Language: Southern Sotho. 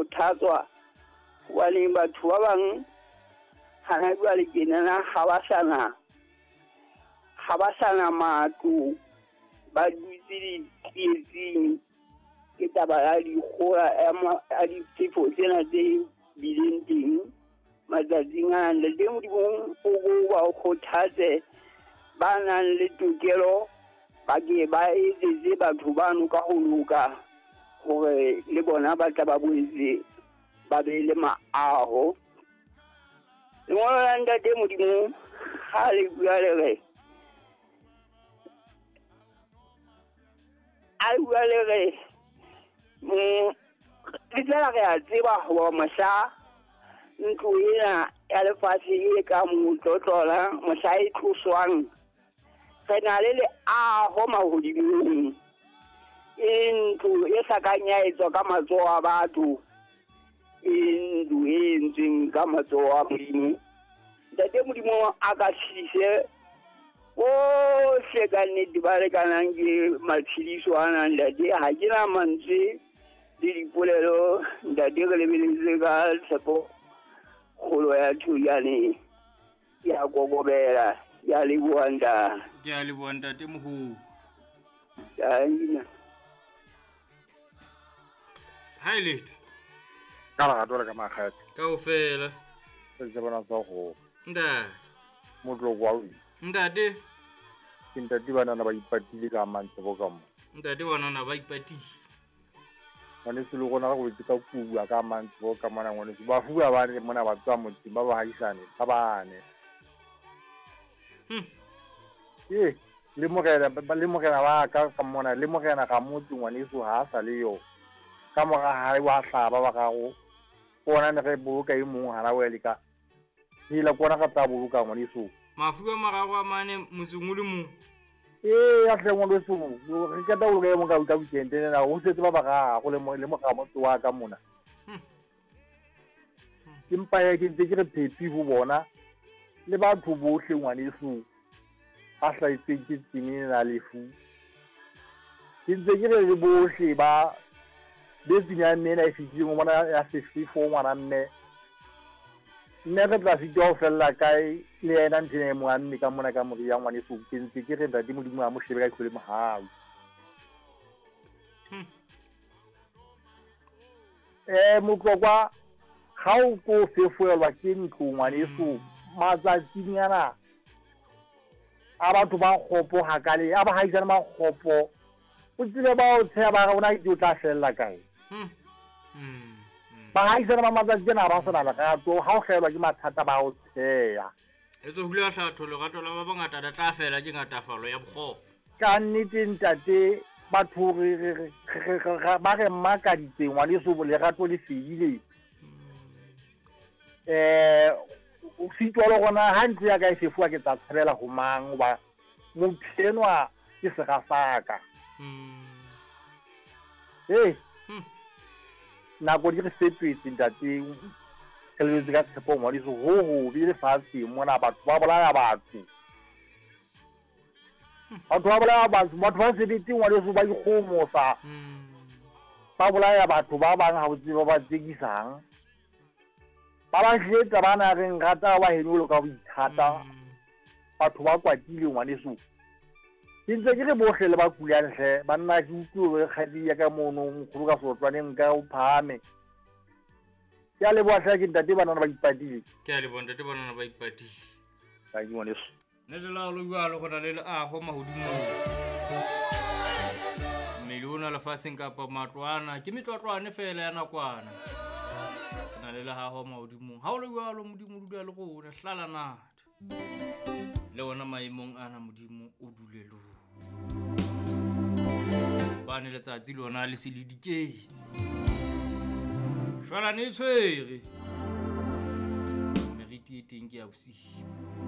kgothatswa hobane batho ba bang hana jwale tjenana ha ba sana matlo, ba dutse ditsietsing ke taba ya dikgola ya difefo tsena tse bileng teng matsatsing ana. Ntate Modimo o ba kgothatse ba nang le tokelo ba ke ba etsetse batho bano ka ho loka hore le bona ba tla ba boetse ba be le maaho. Lengolo la Ntate Modimo ha le bua le re a bua le re le tla re a tseba hore mohla ntlo ena ya lefatshe e ka motlotlola mohla e tloswang re na le leaho mahodimong, e ntlo e sa kang ya etswa ka matsoho a batho, e ntlo e entsweng ka matsoho a Modimo. Ntate Modimo a ka tshedise bohle ka nnete ba lekanang ke matshediso ana. Ntate ha ke na mantswe le dipolelo, ntate re lebeletse ka tshepo kgolo ya thujane ya kokobela. Ke a leboha ntate. Ke a leboha ntate moholo. Ha e letho. Ka lerato le ka makgethe. Kaofela. Se bona sa go. Ntate. Motloko wa o. Ntate. Ke ntate banana ba ipatile ka mantsebo ka mo. Ntate banana ba ipatile. Ngwaneso le rona re wetse ka kubu ka mantsebo ka mona ngwaneso. Ba fuwa ba re mona ba tswa motseng ba ba haisane ba bane. Ee, le morena ba ka mona le morena ga motse ngwaneso ha a sa le yo. Ka mora hae wa hlaba ba gago. Bona ne re boloka e mong hana wa le ka. Hila kona ka tla boloka ngwaneso. Mafu a mararo a mane motseng o le mong. Ee, a hle ngwaneso, re ka tla boloka e mong ka weekend ena ho setse ba bararo le moga motse wa ka mona. Ke mpa ya ke ntse ke re phepi ho bona le batho bohle ngwaneso ba hlahetsweng ke tsene na lefu. Ke ntse ke re le bohle ba betseng ya mme ena e fetileng o bona ya sefefo ngwana mme. Mme re tla sitwa ho fella kae le yena ntho ena e mo amme ka mona ka moriya ngwaneso. Ke ntse ke re ntate Modimo a mo shebe ka ihlo le mohau. Motlokwa ha o ko fefoelwa ke ntlo ngwaneso matsatsing ana a batho ba kgopo hakale a ba haisane ba kgopo o tsile ba o tsheya ba re ona ke o tla fella kae. Ba haisane ba matsatsi ana ba sena lerato ha o hlaelwa ke mathata ba o tsheya. E tswe hula hlatho lerato la ba bangata la tla fela ke ngatafalo ya bokgopo. Ka nnete ntate batho re ba re mmakaditse ngwaneso lerato le fedile. O sitwa le gona ha ntlo ya ka e fefuwa ke tla tshabela ho mang hoba motho enwa ke sera sa ka. Nako di re fetohetse ntate, re lebetse ka tshepo ngwaneso ho hobe lefatsheng mona batho ba bolaya batho. Batho ba bolaya batho, batho ba sebete ngwaneso ba ikgomosa. Ba bolaya batho ba bang ha o tsebe ba tsekisang. Ba ba hletsa ba na reng rata wa heno lo ka ho ithata. Batho ba kwatile ngwaneso. Ke ntse ke re bohle le ba kulang hle banna ke utlwe re kgadi ya ka mono nkgolo ka sotlwaneng ka o phahame. Ke a leboha hle ke ntate banana ba ipatile. Ke a leboha ntate banana ba ipatile. Ka ke ngwaneso. Ne le laolo jwalo go na le leaho mahodimong. Mmele ona lefatsheng kapa matlwana ke metlotlwane fela ya nakwana. Na le lehaho mahodimong. Ha o le jwalo Modimo o dula le rona hlala natho. Le ona maemong ana Modimo o dule le rona. Bane letsatsi lona le se le diketse. Shwalane e tshwere. Meriti e teng ke ya bosiu.